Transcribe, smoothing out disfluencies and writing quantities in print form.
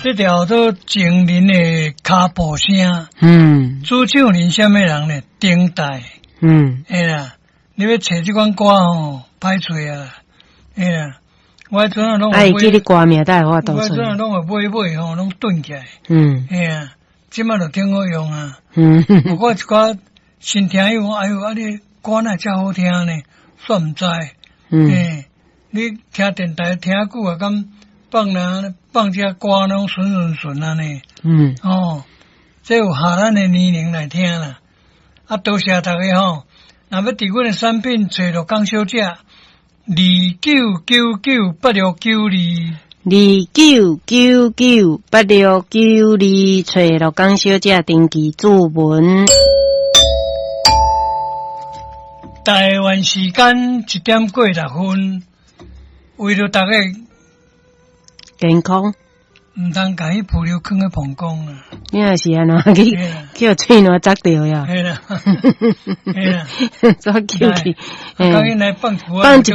這條做情人的跤步聲。主唱人啥物人呢？丁代。嘿啦，你欲揣這款歌吼，歹揣啊。嘿啦，我彼陣啊攏。啊，會記你歌名，才會法度揣。我彼陣啊攏會買買吼，攏囤起來。嘿啊，這擺就挺好用啊。我一寡新聽友講，哎喲，啊你歌哪遮好聽呢？煞毋知。嘿，你聽電台聽久啊，敢放人放這歌攏順順順按呢。哦，這有合咱的年齡來聽啦。啊，多謝大家吼。若欲佇阮的產品揣鹿港小姐，29998692。29998692，揣鹿港小姐登記注文。台灣時間1點過6分，為著大家健康，毋通共彼浮流囥咧膀胱啊！你若是按怎去予喙瀾扎著呀？嘿啦，嘿啦，煞叫去，趕緊來放放一